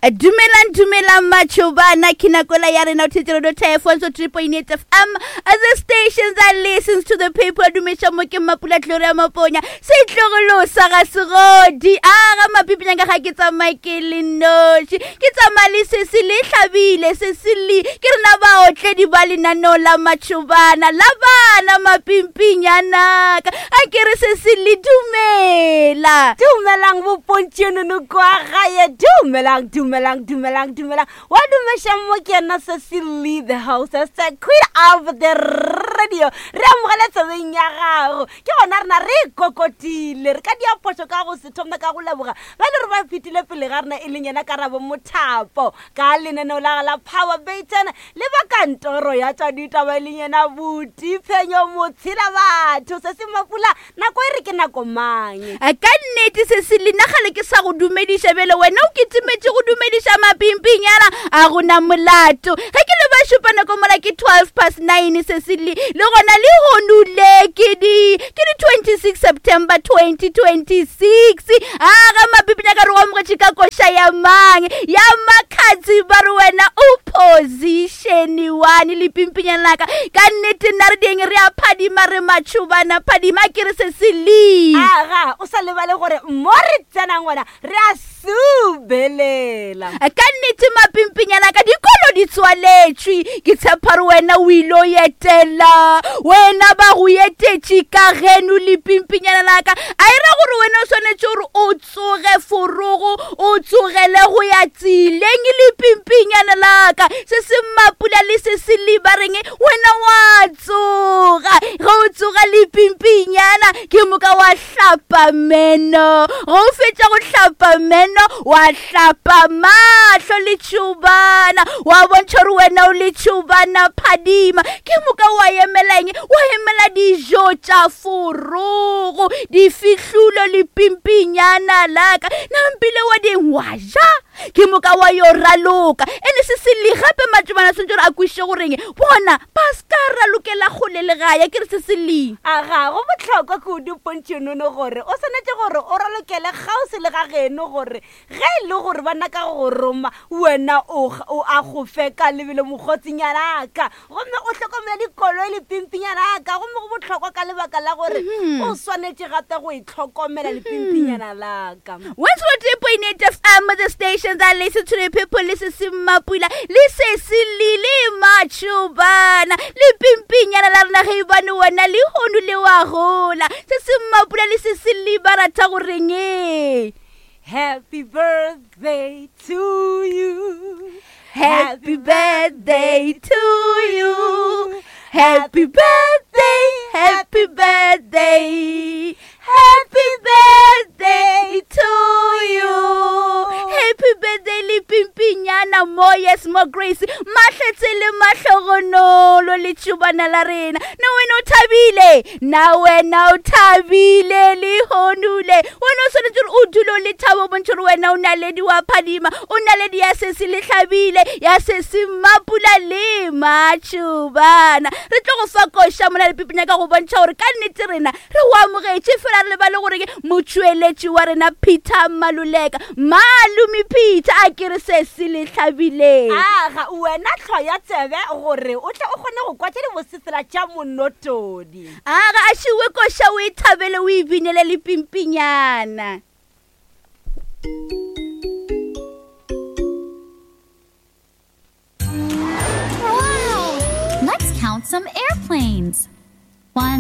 Dumelang, dumelang matšhobana ke nakola ya rena o thetse radio thefo so 3.8 FM the station that listens to the people dumeša mo ke mapula Gloria Maponya setlogolo sa ga segodi a ga mapipinyang ka ga ke tsamaye ke le noši ke tsamaya le sesi le hlabile sesi le ke rena baotledi ba lenaneo la matšhobana la bana mapimpinyana-ka a ke re sesi le dumela Dumelang bopontšenono kwa gae dumelang dumelang dumelang dumelang wa dumešang mo ke yena Sesi Lee the hostess the queen of the radio re amogele tsebeng ya gago ke gona rena re kokotile re ka dia phošo ka go se thome ka go leboga ba le re ba fetile pele ga rena e leng yena karabo mothapo ka lenaneo la la power baton le ba kantoro ya tša ditaba e leng yena buti phenyo motshela batho se se mapula nako e re ke nako mang A ka nnete se se le nagale ke sa go dumediša bjale wena o kitimetše go dumediša mapimpinyana a gona molato ge ke le ba šupa nako mola ke 12 past 9 se se le le gona le honule ke di ke di 26 September 2026 a ga mapipinya ka re go amogetše ka koša ya mang ya makgatsi ba re wena o position one le pimpinyana laka ka nnete nna re dieng re a phadima re matšhobana phadima ke re se se le aga o sa lebale gore mo re tsenang gona re a subelela ka nnete mapimpinyana ka dikolo di tswaletšwe ke tshepa re wena o ile o etela wena ba go etetše ka geno lepimpinyana laka a e ra gore wena o swanetše gore o tsoge forogo o tsogele go ya tseleng lepimpinyana laka se se mapula le se se lebareng wena wa tsoga ge o tsoga lepimpinyana ke moka wa hlapa meno ge o fetša go hlapa meno wa hlapa mahlo letšhobana wa bontšha gore wena o letšhobana phadima ke moka wa emela eng wa emela dijo tša forogo difihlulo le pimpinyana laka nampile wa ding wa ja ke moka wa yo raloka ene se se le gape matšobana swantse gore a kwešiše goreng bona ba se ka ralokela kgole le gae ke re se se le A ga go bohlokwa kudu pontšhonono gore o swanetše gore o ralokele kgauswi le ga geno gore ge e le gore ba naka go roma wena o o akgofe ka lebelo mokgotsinyana ka gomme o hlokomele dikoloi lepimpinyana ka gomme go bohlokwa ka lebaka la gore o swanetše gape go itlhokomela lepimpinyana la ka 103.8 FM, the station that listen to the people, le se se mapula, le se se lile matšhobana, le pimpinyana la rena ge ebane wena le hono le wa gola, se se mapula le se se le ba rata goreng e. Happy birthday to you. Happy birthday to you. Happy birthday, happy birthday, happy birthday to you. Happy birthday le pimpinyana mo yes mo grace mahletse le mahlogonolo le tšhubana la rena na wena o thabile na wena o thabile le honule wena o swanetše gore o dule o le thabo bontšhe gore wena o naledi wa phadima o naledi ya sesi le hlabile ya sesi mapula le matšhobana re tlo go fa koša mona lepipinya ka go bontšha gore ka nnete rena re go amogetše fela re lebale gore ke motšweletši wa rena peter maluleka malome peter a ke re sesi le hlabileng aga wena tlhwa ya tsebe gore o tle o kgone go kwa tše dibosefela tša monotodi aga a šiwe koša o e thabele o e binele lepimpinyana Wow! Let's count some airplanes.